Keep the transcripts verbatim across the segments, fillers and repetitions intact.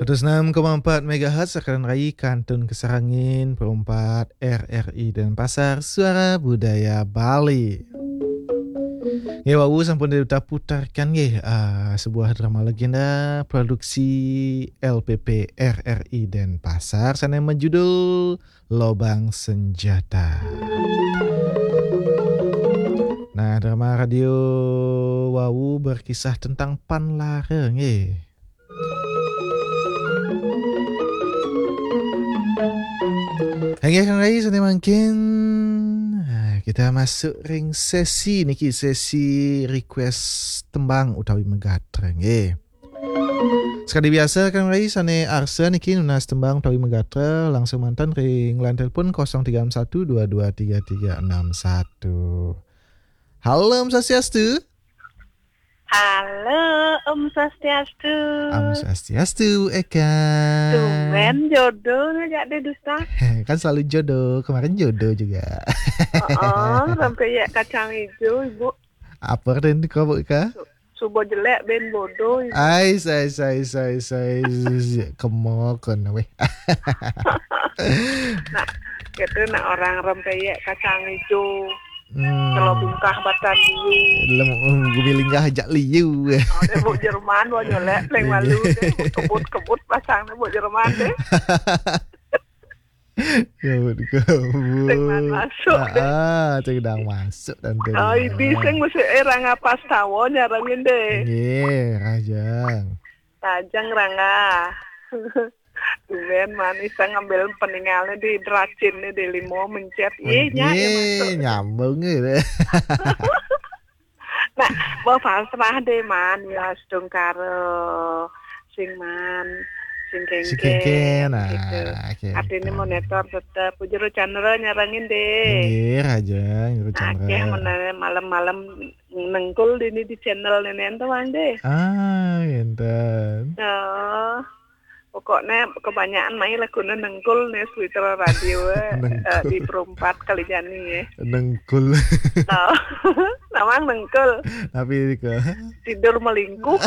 Seratus enam koma empat megahertz, Renggai, kantun kasarengin, perumpat R R I Denpasar, Suara Budaya Bali. Nggih, wau sampun kita putarkan nggih, ah, sebuah drama legenda produksi L P P R R I Denpasar, sane majudul Lobang Senjata. Nah, drama radio wau berkisah tentang panlara nggih. Inggih, Renggai, sane mangkin, ah, kita masuk ring sesi niki, sesi request tembang utawi megatra nggih. Sekadi biasa, Renggai, sane arsa niki nunas tembang utawi megatra langsung manten ring line telepon kosong tiga enam satu dua dua tiga tiga enam satu. Halo, Om Swastiastu. Halo, Om Swastiastu. Om Swastiastu, Eka. Tumben jodoh ngajak deh dusta. Kan selalu jodoh, kemarin jodoh juga. Oh, sampai ya kacang hijau, Ibu. Apa artin kau, Bu Eka? Su-, subuh jelek, ben bodoh, Ibu. Ai, sai, sai, sai, sai. Kemokon, weh. Nah, gitu, nak orang rempeyek kacang hijau. Hmm. Kalau bungkah batan liu. Lem, um, gumi linggah jak liu. Oh, dia buk Jerman, wah nyolek, paling malu deh. Kebut-kebut pasang deh, buk Jerman deh. Kebut-kebut. Sing man masuk deh. Ah, ah, sing dang masuk dan tuh. Oh, ini sing mesti, eh, Rangga Pastawa nyarengin deh. Nggih, Rajang. Rajang, Rangga. Dumen manis ngambil peninggalnya di deracin nih, di limo mencet. Iya, nya, ya, nggih, masuk. Nyambung gitu. Nah, mau pasrah deh, man, ya, sedung karo sing man, sing kengken, sing kengken, gitu. Ah, oke, artinya oke. Monitor tetep. Jero Chandra nyarengin deh. Nggih, Rajang, Jero Chandra. Akeh meneh malam-malam nengkul dini di channel nenen tuh, Mang, deh. Ah, ngenten. Oh. Pokoknya kebanyakan main lagunya nengkul nih, Sweeter Radio, eh, eh, di perumpat Kalijani ya. Nengkul. Oh. Namang nengkul. Tapi ke tidur melingkuh.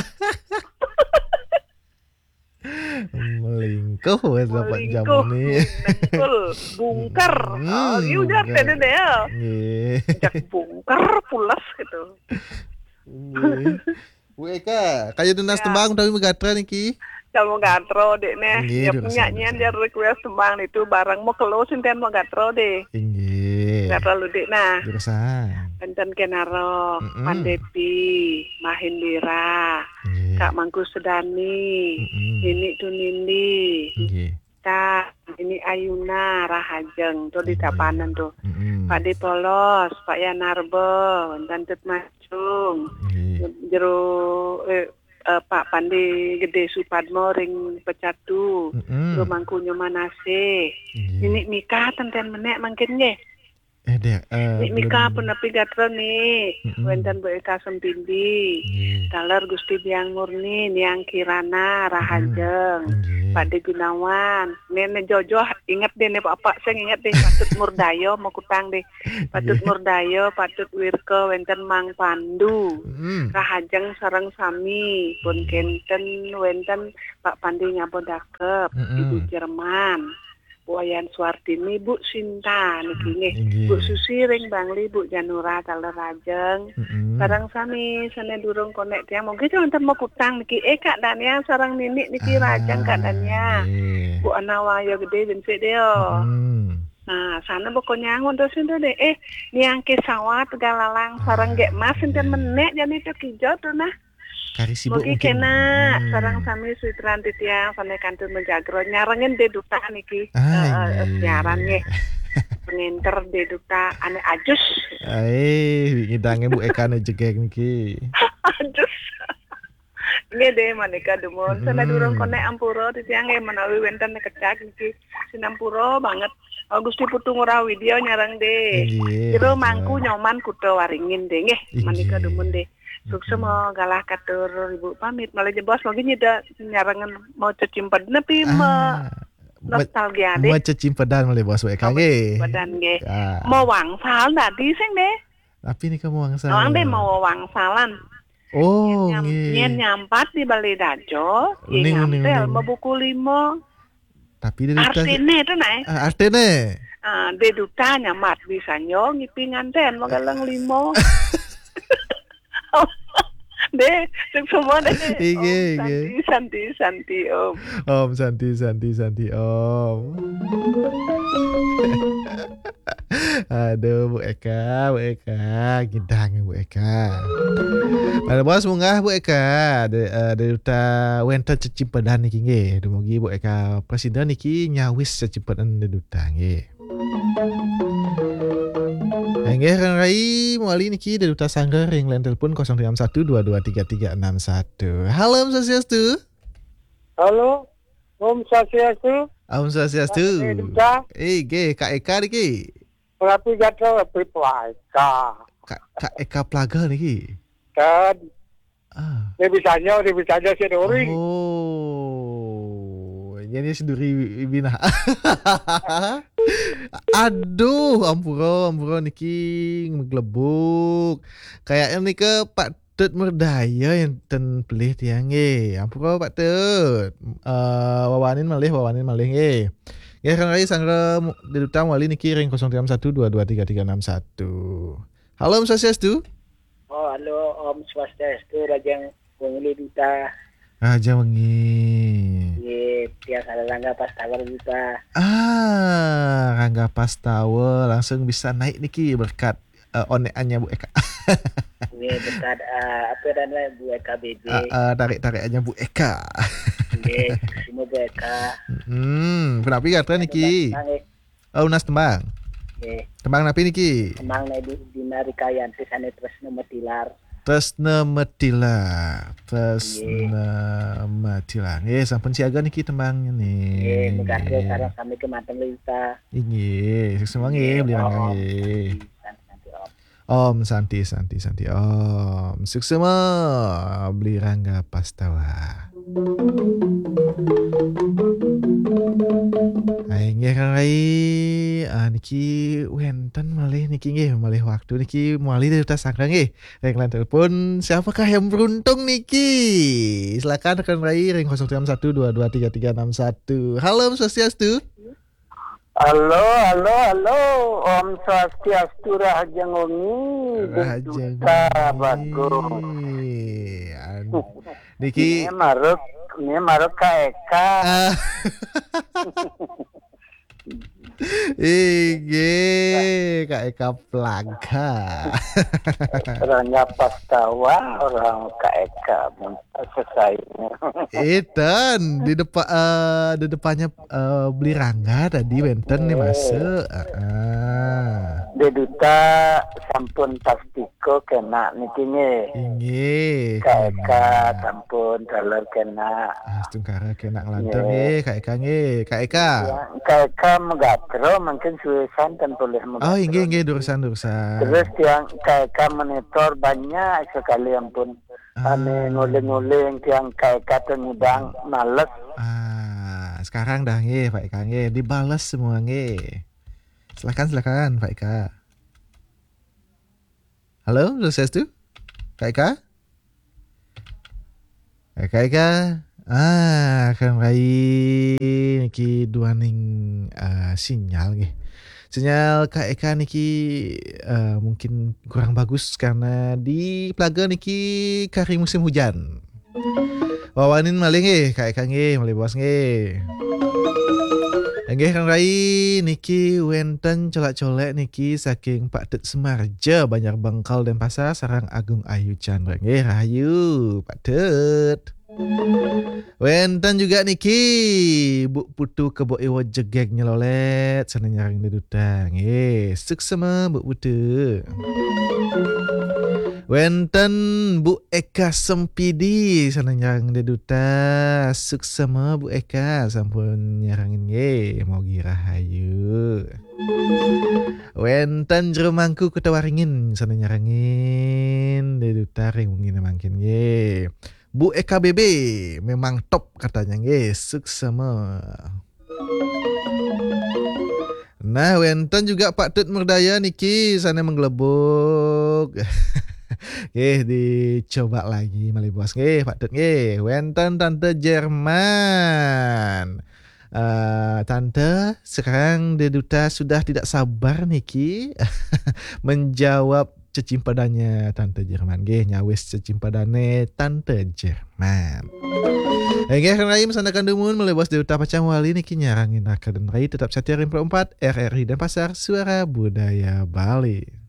Melingkuh, wes dapat jam melingkuh, nih. Nengkul, bungker. Hmm, oh, iya, ujar bungker. Tadi deh ya. Nggih. Jak bungker, pulas gitu. Nggih. Bu Eka, kaya nunas tembang utawi megatra niki? Kalau megatra, Dek, neh. Nggih, ya, punya nyian dia request tembang itu bareng mau kelo sinten megatra deh. Inggih. Megatra lu, Dek, nah. Jurusan. Enten Kenarok, mm-mm. Pandepi, Mahindira, nggih. Kak Mangku Sedani, mm-mm. Nini Tunindi. Nggih. Kak, ini Ayuna, Rahajeng, tuh di Tabanan tuh. Mm-mm. Pak De Polos, Pak Yanarbo, Tantut Macung, nggih. Jero, eh, eh, Pak Pandi Gede Supadmo ring Pecatu, mm-mm. Jero Mangku Nyomanase, nggih. Ini Mika tenten menek mangkin nggih. Eh, Dek, eh, Nik Mika belum. Punapi gatra nih, mm-mm. Wenten Bu Eka Sempindi, nggih. Taler Gusti Biang Murni, Niang Kirana, Rahajeng, mm-mm. Nggih. Pak De Gunawan, Nene Jojo, inget deh nih Bapak, saya inget deh, Patut Murdayo, mau kutang deh. Patut, nggih. Murdayo, Patut Wirko, wenten Mang Pandu, mm-mm. Rahajeng sareng sami, pun, nggih. Kenten, wenten Pak Pandi Ngabo Dakep, mm-mm. Ibu Jerman. Bu Wayan Suartini, Bu Sinta niki nggih. Inggih. Bu Susi ring Bangli, Bu Janura taler Rajeng. Mm-mm. Sareng sami sane durung konek tiang. Mungkin wonten mau kutang niki. Eh, Kak Dania sareng Nini niki, ah, Rajeng Kak Dania. Nggih. Bu Ana Wahyo Gede, ben sik deh, yo. Mm-mm. Nah, sana boko nyangun terus itu deh. Eh, Niang Kesawat Galalang sareng, ah, Gek Mas enten, nggih. Menek jane itu kijo tuh nah. Kari sibuk. Mugi mungkin kena, hmm. Sareng sami Sweeter titiang, sane kantun menjagro, nyarengin deh duta niki. Ah, eh, eh, inggih. Siaran nggih. Pengenter deh duta, ane ajus. Ae, ngidange Bu Eka ne jegeg niki. Ajus. Nggih deh, manika dumun. Sane, hmm. Durung konek ampura titiang nggih menawi wenten kecak niki. Sinampura banget. Oh, Gusti Putu Ngurah Widya nyareng deh. Inggih, jero betul. Mangku Nyoman Kuta Waringin deh nggih. Inggih. Manika dumun deh. Suksma, mm-mm. Galah katur Ibu pamit. Malah jebos mungkin nyida nyarengan mau cecimped nepi, ah, me-, nostalgia deh. Mau cecimpedan malah bos wae kangge. Cecimpedan nggih. Ah. Mau wangsal tadi sing deh. Tapi nika mau wangsal. Nawang deh mau wangsalan. Oh, nyam, nggih. Nyén nyampat di balé dajol, nggih, uning, uning, ngambil uning. Mabuku lima. Tapi Dé Duta artiné itu, nah. Ah, artiné? Ah, Dé Duta nyampat di sanjo ngipi ngantén magaleng lima. Dé, sing semua dé. Inggih, Om inggih. Santi, Santi, Santi, Om. Om Santi, Santi, Santi, Om. Aduh, Bu Eka, Bu Eka, ngidang Bu Eka. Pada bos munggah Bu Eka, Dé, eh, Dé Duta wénten cecimpedan niki nggih. Dumugi Bu Eka presida niki nyawis cecimpedan Dé Duta nggih. Inggih, Kang Rai, mawali niki Dé Duta sanggra ring line telepon kosong tiga satu dua dua tiga tiga enam satu. Halo, Om Swastiastu. Halo, Om Swastiastu. Om Swastiastu. Kang Rai Duta. Eh, nggih, Kak Eka niki. Punapi gatra, punapi Eka. Kak, Kak Eka Plaga niki. Kan. Ah. Dia bisanya, dia bisanya si Dori. Oh, jadi si Dori binah. Aduh, ampura, ampura niki maglebug. Kayaknya nika Pak Tut Merdaya yang ten pelih tiang nggih. Ampura Pak Tut. Eh, wawanin malih, wawanin malih nggih. Nggih, Kang Rai sanggra mu-, Dé Duta mawali niki ring kosong tiga satu dua dua tiga tiga enam satu. Halo, Om Swastiastu. Oh, halo, Om Swastiastu, Rahajeng wengi Dé Duta. Rahajeng wengi. Nggih, tiang salah Rangga Pastawa Duta. Ah, Rangga Pastawa langsung bisa naik niki berkat, eh, onekannya Bu Eka. Nggih, berkat, eh, apa namanya, Bu Eka B B. Eh, eh, tarik-tarikannya Bu Eka. Nggih, semua Bu Eka. Hmm, punapi gatra niki? Nggih. Oh, nunas tembang. Nggih. Tembang napi niki? Tembang Dina Rikayanti sané Tresna Metilar. Tresna Metilar. Tresna Metilar. Nggih, sampun siaga niki tembangnya nih. Nggih, megasé sareng sami kémanten Lita. Inggih, suksma nggih, Beli Rangga nggih. Om Santi, Santi, Santi, Om. Suksma, Beli Rangga Pastawa. Hai, nggih, Kang Rai. Ah, niki wénten malih niki nggih, malih waktu niki mawali Dé Duta sanggra nggih. Ring line telepon, siapakah yang beruntung niki? Silakan Kang Rai ring kosong tiga satu dua dua tiga tiga enam satu. Halo, Om Swastiastu. Halo, halo, halo. Om Swastiastu, Rahajeng wengi. Rahajeng wengi. Dé Duta Bagong. Anu, niki ini maruk, ini maruk Kak Eka. Ah. Inggih, Kak Eka Plaga. Rangga Pastawa, orang Kak Eka, mun sesaingnya. Enten, di depa-, eh, di depannya, eh, Beli Rangga tadi wénten nih, Mas. Heeh. Dé Duta sampun pastika kénak niki nggih. Inggih, Kak Eka kénak. Sampun taler kénak. Ah, astungkara kénak nglantur nggih, Kak Eka nggih. Kak Eka. Ya, Kak Eka magatra mungkin suwé santen polih magatra. Oh, inggih, inggih, durus-durus. Terus tiang Kak Eka monitor banyak sekali ampun. Ah. Ané nguling-nguling tiang Kak Eka tuh ngidang males. Ah, sekarang dah nggih, Pak Eka nggih, dibales semua nggih. Silakan, silakan, Pak Eka. Halo, Swastiastu? Kak Eka? Eh, Kak Eka? Ah, Kang Rai niki duaning, eh, sinyal nggih. Sinyal Kak Eka niki, eh, mungkin kurang bagus karena di Plaga niki kari musim hujan. Wawanin malih nggih, Kak Eka nggih, malih bos nggih. Inggih, Kang Rai, niki wénten colak-colek niki saking Pak Tut Semarja, Banjar Bengkal, Denpasar, sareng Agung Ayu Chandra. Nggih, rahayu, Pak Tut. Wénten juga niki Bu Putu Kebo Iwa Jegég Nyelolét, sané nyarengin Dé Duta. Nggih, suksma Bu Putu. Wénten Bu Eka Sempidi, sané nyarengin Dé Duta. Suksma Bu Eka, sampun nyarengin nggih, mugi rahayu. Wénten Jero Mangku Kota Waringin, sané nyarengin Dé Duta ring wengi mangkin nggih. Bu Eka B B, memang top katanya nggih, suksma. Nah, wénten juga Pak Tut Merdaya niki sané menggelebuk. Nggih, dicoba lagi malih bos. Nggih, patut nggih. Wénten Tante Jerman. Eh, Tante, sekarang Deduta sudah tidak sabar niki menjawab cecimpadannya Tante Jerman. Nggih, nyawis cecimpadané Tante Jerman. Nggih, Rai, masandekan dumun malih bos Deduta pacang wali niki nyarengin Raka dan Rai, tetap setia ring empat R R I Denpasar, Suara Budaya Bali.